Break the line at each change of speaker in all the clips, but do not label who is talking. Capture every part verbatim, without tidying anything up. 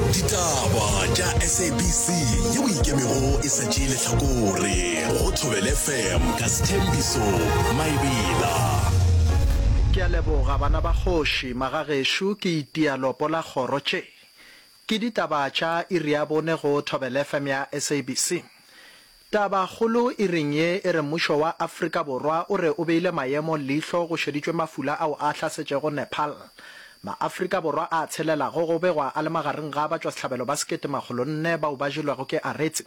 Ditaba tša S A B C yeo e ikemego e sa tšee lehlakore go Thobela F M ka Sthembiso Maebela.
Ke a leboga bana ba kgoši, magagešo ke itia lopo la kgoro tše. Ke ditaba tša iri ya bone go Thobela F M ya S A B C. Tabakgolo iring ye e re mmušo wa Afrika Borwa o re o beile maemo leihlo go šeditšwe mafula ao a hlasetšego Nepal. Ma-Afrika Borwa a tshelelago go begwa a le magareng ga batšwasehlabelo ba sekete makgolo nne bao ba jelwego ke aretse.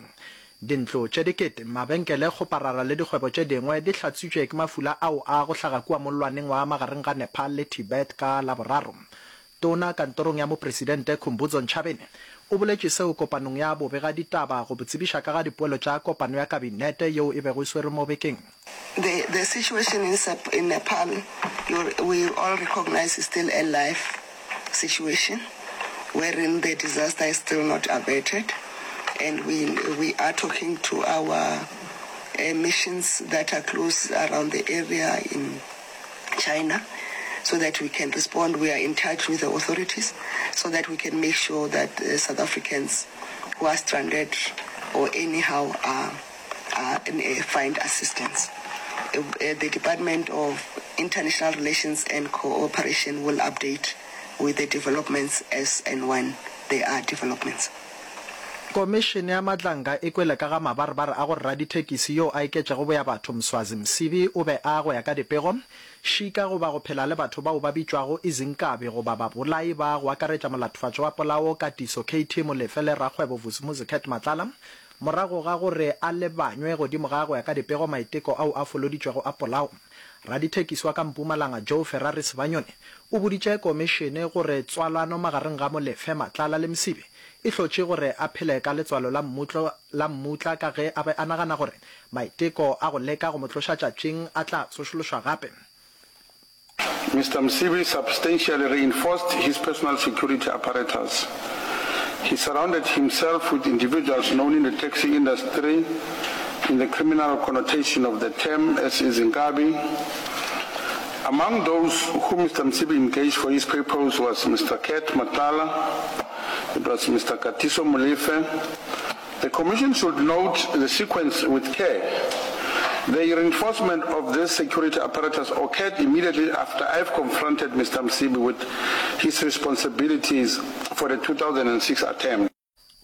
Dintlo tše dikete, mabenkele, kgoparara le dikgwebo tše dingwe di hlatswitšwe ke mafula ao a go hlaga kua mollwaneng wa magareng ga Nepal le Tibet ka Laboraro. Tona kantorong ya Mopresidente Khumbudzo Ntshavheni o boletše seo kopanong ya bobegaditaba go tsebiša ka ga dipoelo tša kopano ya kabinete yeo e bego e swerwe mo bekeng.
The, the situation in, in Nepal, we all recognize, is still a life situation wherein the disaster is still not averted. And we, we are talking to our uh, missions that are close around the area in China so that we can respond. We are in touch with the authorities so that we can make sure that uh, South Africans who are stranded or anyhow are, are, uh, find assistance. Uh, uh, the Department of International Relations and Cooperation will update with the developments as and when there are developments.
Komišene ya Madlanga e kwele ka ga mabarebare a gore radithekisi yo a iketšego boyabatho Mswazi Msibi o be a, go ya ka dipego, šika goba go phela le batho bao ba bitšwago izinkabi goba babolai ba go akaretša molatofatšo wa polao Katiso K T Molefe le rakgwebo Vusimuzi Cat Matlala morago ga gore a lebanywe godimo ga, go ya ka dipego, maiteko ao a foloditšwego a polao. Radithekisi wa ka Mpumalanga Joe Ferrari Sebanyoni o boditše komišene gore tswalano magareng ga Molefe, Matlala le Msibi e hlotše gore a phele ka letswalo la mmutlo la mmutla ka ge a be a nagana gore maiteko a go leka go mo tloša tšatšing a tla tsošološwa gape.
Mister Msibi substantially reinforced his personal security apparatus. He surrounded himself with individuals known in the taxi industry in the criminal connotation of the term as izinkabi. Among those who Mister Msibi engaged for his purpose was Mister Cat Matlala, it was Mister Katiso Molefe. The Commission should note the sequence with care. The reinforcement of this security apparatus occurred immediately after I've confronted Mister Msibi with his responsibilities for the two thousand six attempt.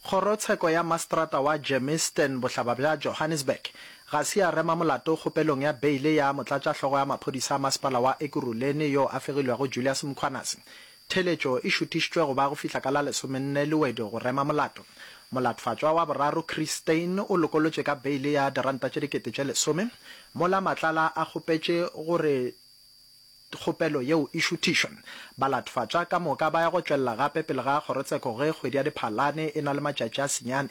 Kgorotsheko ya Maseterata wa Germiston bohlaba bja Johannesburg ga se ya rema molato kgopelong ya beile ya motlatšahlogo ya maphodisa a masepala wa Ekurhuleni yo a fegilwego Julius Mkhwanazi. Theeletšo e šuthišitšwe go ba go fihla ka la lesomenne Lewedi go rema molato. Molatofatšwa wa boraro Chris Steyn o lokolotšwe ka beile ya diranta tše dikete tše lesome, mola Matlala a kgopetše gore kgopelo yeo e šuthišwe. Balatofatšwa ka moka ba ya go tšwelela gape pele ga kgorotsheko ge kgwedi ya Diphalane e na le matšatši a senyane.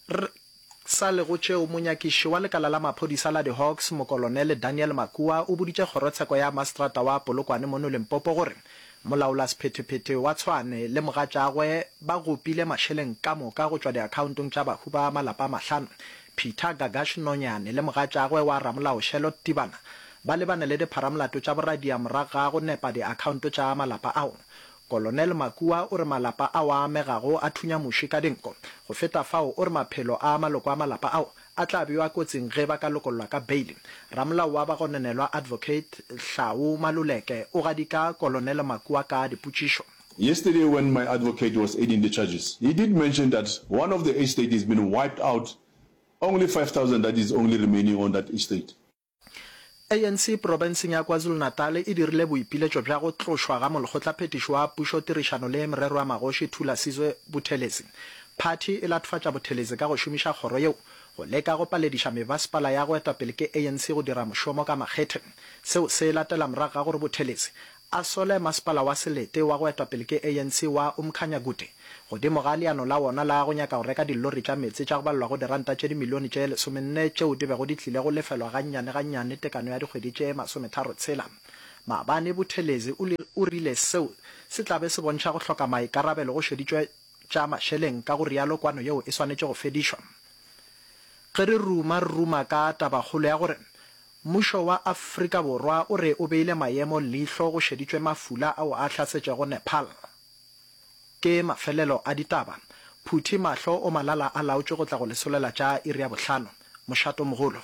Re sa le go tšeo, monyakiši wa lekala la maphodisa la di-Hawks Mokolonele Daniel Makua o boditše kgorotsheko ya maseterata wa Polokwane mono Limpopo gore molaolasephetephete wa Tshwane le mogatšagwe ba gopile mašeleng ka moka go tšwa diakhaontong tša bahu ba malapa a mahlano. Peter Gagash Nonyane le mogatšagwe wa ramolao Charlotte Tibana ba lebane le dipharamolato tša boradia morago ga go nepa diakhaonto tša malapa ao. Kolonel Makua o re malapa ao a amegago a thunya muši ka dinko. Go feta fao o re maphelo a maloko a malapa ao a tla bewa kotsing ge ba ka lokollwa ka beile. Ramolao wa bagononelwa Advocate Hlau Maluleke o gadika Kolonel Makua ka dipotšišo.
Yesterday when my advocate was adding the charges, he did mention that one of the estate has been wiped out, only five thousand that is only remaining on that estate.
A N C profenseng ya KwaZulu-Natal e dirile boipiletšo bja go tlošwa ga molekgotlaphethiši wa pušo tirišano le merero ya magoši Thulasizwe Buthelezi. Phathi e latofatša Buthelezi ka go šomiša kgoro yeo go leka go palediša mebasepala ya go etwa pele ke A N C go dira mošomo ka makgethe. Seo se latela morago ga gore Buthelezi a sole masepala wa selete wa go etwa pele ke A N C wa Umkhanyakude godimo ga leano la wona la go nyaka go reka dilori tša meetse tša go balelwa go diranta tše dimilione tše lesomenne tšeo di bego di tlile go lefelwa gannyane gannyane tekano ya dikgwedi tše masometharo tshela. Maabane Buthelezi o rile seo se tla be se bontšha go hloka maikarabelo go šeditšwe tša mašeleng, ka go rialo kwano yeo e swanetše go fedišwa. Ge re ruma re ruma ka tabakgolo ya gore mmušo wa Afrika Borwa o re o beile maemo leihlo go šeditšwe mafula ao a hlasetšego Nepal. Ke mafelelo a ditaba. Phuthi mahlo o malala a laotšwe go tla go le solela tša iri ya bohlano. Mošatomogolo.